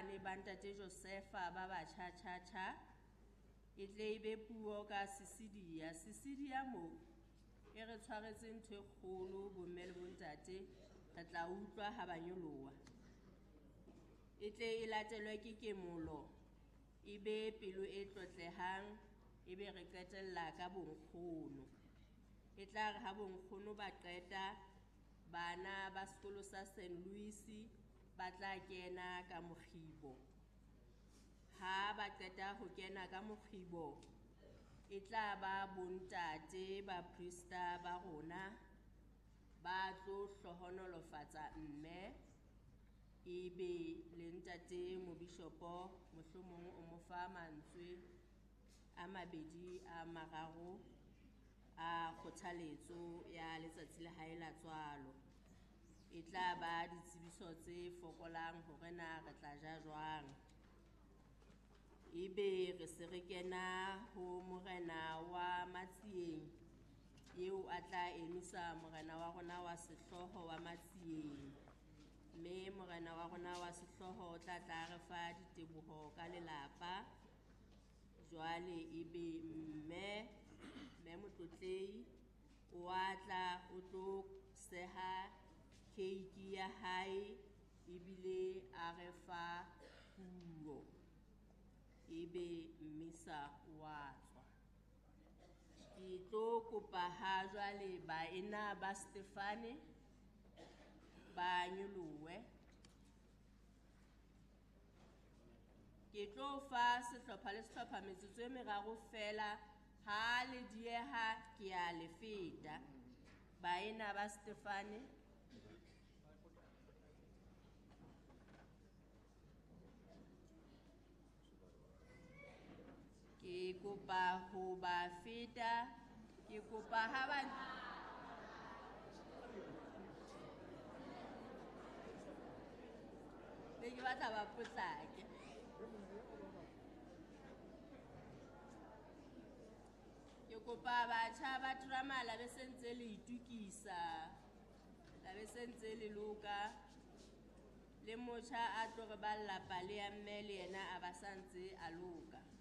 bane ba ntate Josefa ba batjha tjha tjha. E tle e be puo ka Sisidia. Sisidia mo e re tshwaretse ntho e kgolo bomme le bontate, re tla utlwa ha ba nyoloha. E tle e latelwe ke kemolo, e be pelo e tlotlehang, e be re qetella ka bonkgono. E tla re ha bonkgono ba qeta, bana ba sekolo sa St. Louis ba tla kena ka mokgibo. Ha ba qeta ho kena ka mokgibo, e tla ba bontate baprista ba rona ba tlo hlohonolofatsa mme, ebe le ntate mobishopo mohlomong o mo fa mantswe a mabedi a mararo a kgothaletso ya letsatsi la hae la tswalo. E tla ba ditsebiso tse fokolang hore na re tla ja jwang. Ebe re se re kena ho morena wa Matsieng, eo a tla emisa morena wa rona wa sehlooho wa Matsieng. Mme morena wa rona wa sehlooho o tla tla re fa diteboho ka lelapa. Jwale ebe mme Motlotlehi o a tla o tlo seha keiki ya hae ebile a re fa puo. Ebe mmisa wa tswa. Ke tlo kopa ha jwale baena ba Stefane ba nyolohe. Ke tlo fa sehlopha le sehlopha metsotso e meraro feela, ha le dieha ke a le feta. Baena ba Stefane. Ke kopa ho ba feta, ke kopa ha ba ne ke batla ba potlake. Ke kopa batjha ba drama la be se ntse le itukisa, la be se ntse le loka. Le motjha a tlo re balla pale ya mme le yena a ba sa ntse a loka.